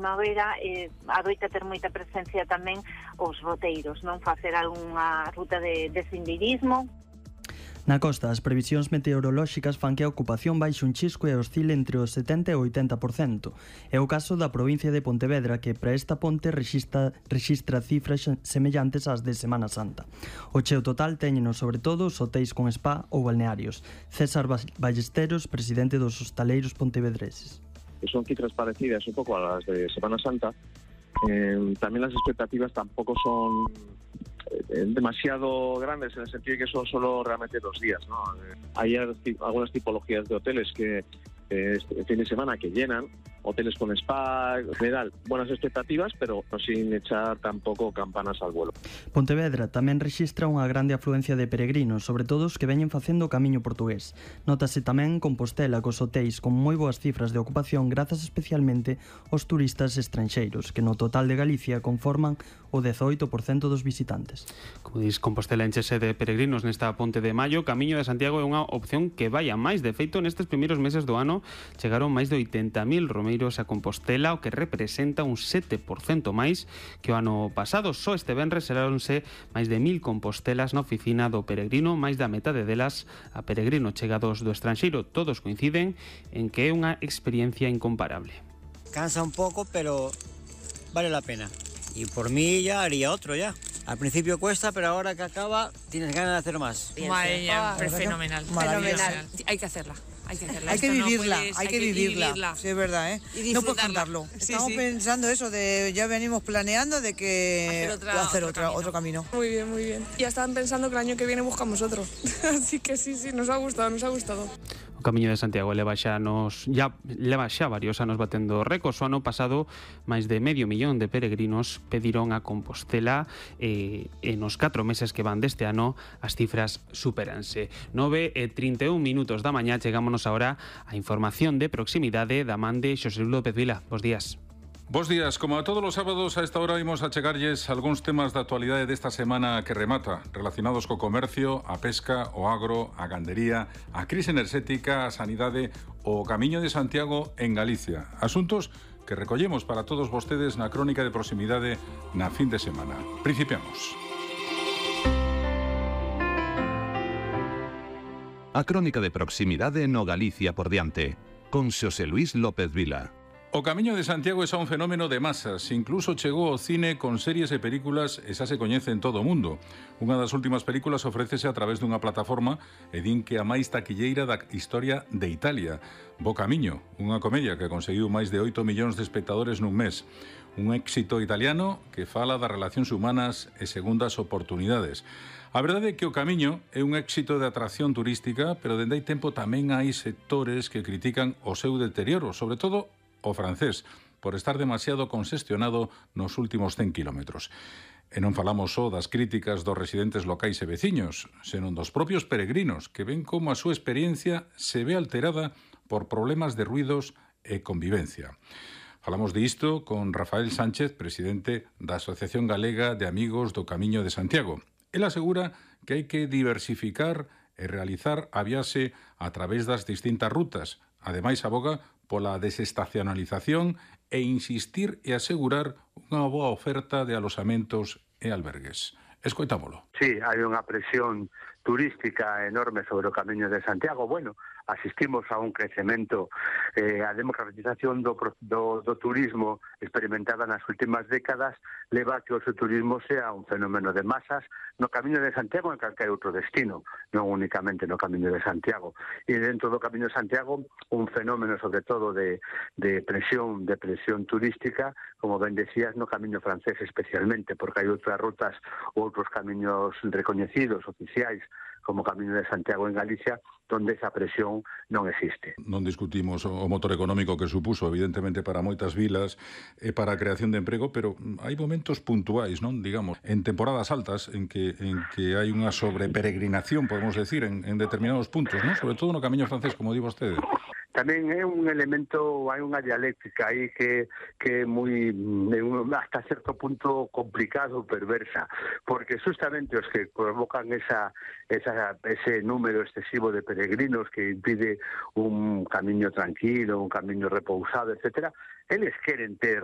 primavera, adoita ter moita presencia tamén os roteiros, non? Facer algunha ruta de senderismo. Na costa, as previsións meteorolóxicas fan que a ocupación baixe un chisco e oscile entre o 70 e o 80%. É o caso da provincia de Pontevedra, que para esta ponte rexistra cifras semellantes ás de Semana Santa. O cheo total téñeno sobre todo os hotéis con spa ou balnearios. César Ballesteros, presidente dos hostaleiros pontevedreses. Son cifras parecidas un pouco a las de Semana Santa. También las expectativas tampoco son demasiado grandes en el sentido de que son solo realmente 2 días, ¿no? Hay algunas tipologías de hoteles que este fin de semana que llenan, hoteles con spa, en general, buenas expectativas, pero sin echar tampoco campanas al vuelo. Pontevedra tamén rexistra unha grande afluencia de peregrinos, sobre todo os que veñen facendo o camiño portugués. Nótase tamén Compostela cos hotéis con moi boas cifras de ocupación grazas especialmente aos turistas estranxeiros, que no total de Galicia conforman o 18% dos visitantes. Como dis, Compostela enchese de peregrinos nesta ponte de maio. Camiño de Santiago é unha opción que vai a máis. De feito, nestes primeiros meses do ano chegaron máis de 80.000 romeiros a Compostela, o que representa un 7% máis que o ano pasado. Só este venres seráronse máis de 1.000 compostelas na oficina do peregrino, máis da metade delas a peregrino chegados do estranxeiro. Todos coinciden en que é unha experiencia incomparable. Cansa un pouco, pero vale la pena. Y por mí ya haría otro ya. Al principio cuesta, pero ahora que acaba tienes ganas de hacer más. Madre mía, fenomenal. Hay que hacerla. Hay que vivirla, hay que vivirla. Sí, es verdad, ¿eh? No puedes contarlo. Estamos pensando eso, ya venimos planeando de que hacer otro camino. Muy bien. Ya estaban pensando que el año que viene buscamos otro. Así que sí, nos ha gustado. O Camiño de Santiago leva xa varios anos batendo récords. O ano pasado, máis de 500.000 de peregrinos pediron a Compostela e nos 4 meses que van deste ano as cifras supéranse. 9:31 da mañá, chegámonos agora a información de proximidade da man de Xosé Luis López Vila. Bos días. Bos días, como a todos os sábados a esta hora imos a chegarlles algúns temas da actualidade desta semana que remata, relacionados co comercio, a pesca, o agro, a gandería, a crise enerxética, a sanidade, o Camiño de Santiago en Galicia. Asuntos que recollemos para todos vostedes na crónica de proximidade na fin de semana. Principiamos. A crónica de proximidade no Galicia por diante, con Xosé Luis López Vila. O Camiño de Santiago é xa un fenómeno de masas, incluso chegou ao cine con series e películas e xa se coñece en todo o mundo. Unha das últimas películas ofrécese a través dunha plataforma e din que a máis taquilleira da historia de Italia. Bo Camiño, unha comedia que conseguiu máis de 8 millóns de espectadores nun mes. Un éxito italiano que fala das relacións humanas e segundas oportunidades. A verdade é que o Camiño é un éxito de atracción turística, pero dende hai tempo tamén hai sectores que critican o seu deterioro, sobre todo o francés, por estar demasiado conxestionado nos últimos 100 kilómetros. E non falamos só das críticas dos residentes locais e veciños, senón dos propios peregrinos, que ven como a súa experiencia se ve alterada por problemas de ruidos e convivencia. Falamos disto con Rafael Sánchez, presidente da Asociación Galega de Amigos do Camiño de Santiago. El asegura que hai que diversificar e realizar a viaxe a través das distintas rutas. Ademais, aboga pola desestacionalización e insistir e asegurar unha boa oferta de alosamentos e albergues. Escoitámolo. Sí, hai unha presión turística enorme sobre o Camiño de Santiago. Bueno, asistimos a un crecemento, a democratización do turismo experimentada nas últimas décadas leva a que o seu turismo sea un fenómeno de masas no Camiño de Santiago en calquer outro destino, non únicamente no Camiño de Santiago. E dentro do Camiño de Santiago un fenómeno sobre todo de presión turística, como ben decías, no Camiño francés especialmente, porque hai outras rutas ou outros camiños recoñecidos, oficiais, como Camiño de Santiago en Galicia, donde esa presión non existe. Non discutimos o motor económico que supuso, evidentemente, para moitas vilas e para a creación de emprego, pero hai momentos puntuais, non? Digamos, en temporadas altas, en que hai unha sobreperegrinación, podemos decir, en determinados puntos, non? Sobre todo no Camiño francés, como di vostede. Tamén é un elemento, hai unha dialéctica aí que é moi, hasta certo punto complicado, perversa, porque justamente os que provocan ese número excesivo de peregrinos que impide un camiño tranquilo, un camiño repousado, etcétera, eles queren ter